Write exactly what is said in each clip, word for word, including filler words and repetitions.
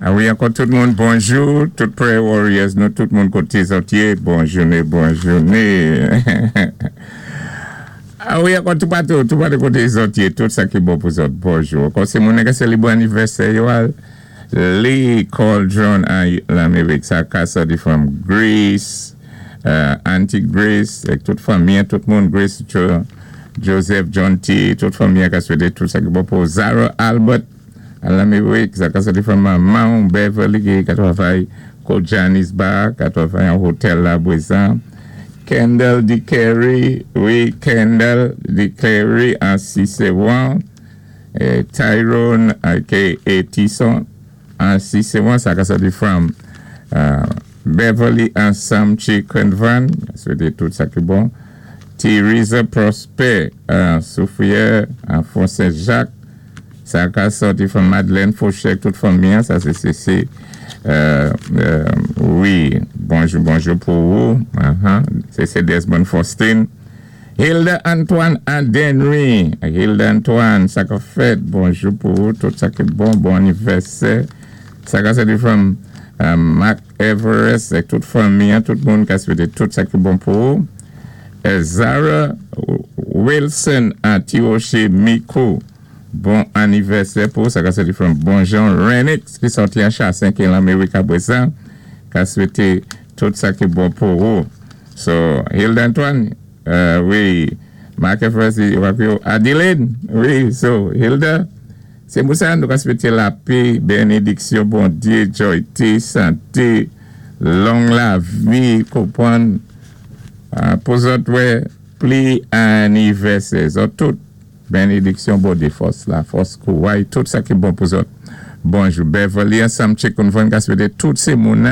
Ah wi, ankò tout moun, bonjou, tout prayer warriors, nou tout moun koté zòt yé, bon jouné, bon jouné. Ah wi, ankò tout patou, tout patou koté zòt yé, tout sa ki bon pou zòt, bonjou. Ankò sé moun ka sélibré anivèsè yo al, Lee Cauldron an Lamérik, sa ka sòti from Greece, uh, Auntie Grace, ek tout fanmi, tout moun, Grace Jo- Joseph, John T, tout fanmi ka swété tout sa ki bon pou Zara Albert, an Lamérik, sa ka sòti from Mount Beverly, ki ka twavay kot Janice Bar, ka twavay an hotel la bwézan. Kendall DeCary, wi, Kendall DeCary an Cicéron, eh, Tyrone, aka Tison, an Cicéron, sa ka sòti from uh, Beverly an Samchi Convan, swété tout sa ki bon. Theresa Prosper, uh, Soufrière, an Fond Saint-Jacques, sa ka sòti from Madeleine Fauchek, tout fanmi, sa sé sé sé, euh, euh, wi, bonjou, bonjou pou ou, uh-huh. Sé sé Desmond Faustin. Hilda Antoine Adenry, Hilda Antoine, sa ka fèt, bonjou pou ou, tout sa ki bon, bon anivèsè. Sa ka sòti from uh, Mark Everest, ek tout fanmi, tout moun ka swété tout sa ki bon pou ou. Eh, Zara Wilson an Tiroche Miko, bon anivèsè pou sa ka sòti from Bon Jean Renix ki sòti an Chassin ki Lamérik apwé sa, ka swété tout sa ki bon pou ou. So, Hilda Antoine, uh, wi, Mark Everest, Adeline, wi, so, Hilda, sé pou sa nou ka swété lapè, bénédiksyon, Bondyé, joyté, santé, long lavi, konpwann, uh, pou zòt wè, pli anivèsè, zòt tout, bénédiksyon, Bondyé, fòs la, fòs kouway, tout sa ki bon pou zòt. Bonjou, Beverly, ansanm Chicken Convent, ka swété tout sé moun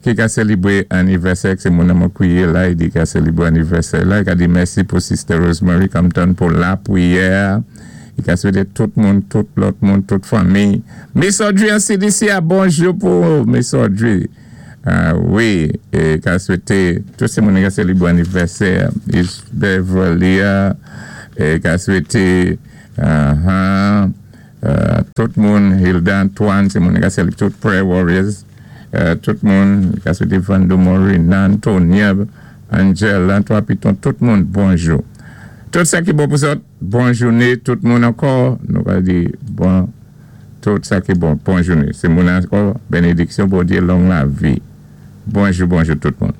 ki ka sélibré anivèsè, sé moun mwen kwiyé la, i di ka sélibré anivèsè la, i ka di mèsi pou Sister Rosemary Compton pou lapwiyè, i ka swété tout moun, tout lòt moun, tout fanmi. Miss Audrey an C D C a, bonjou pou Miss Audrey. Ah, wi, é ka swété tout sé moun ka sélibré anivèsè, Is Beverly, é ka swété uh-huh, uh, tout moun, Hilda Antoine, sé moun ka sélibré, tout prayer warriors, uh, tout moun, ka swété Vando Morina, Antonia, Angel, Antoine Piton, tout moun, bonjou. Tout sa ki bon pou zòt, bon jouné, tout moun ankò, nou ka di, bon, tout sa ki bon, bon jouné. Sé moun ankò, bénédiksyon, Bondyé, long lavi. Bonjou, bonjou tout moun.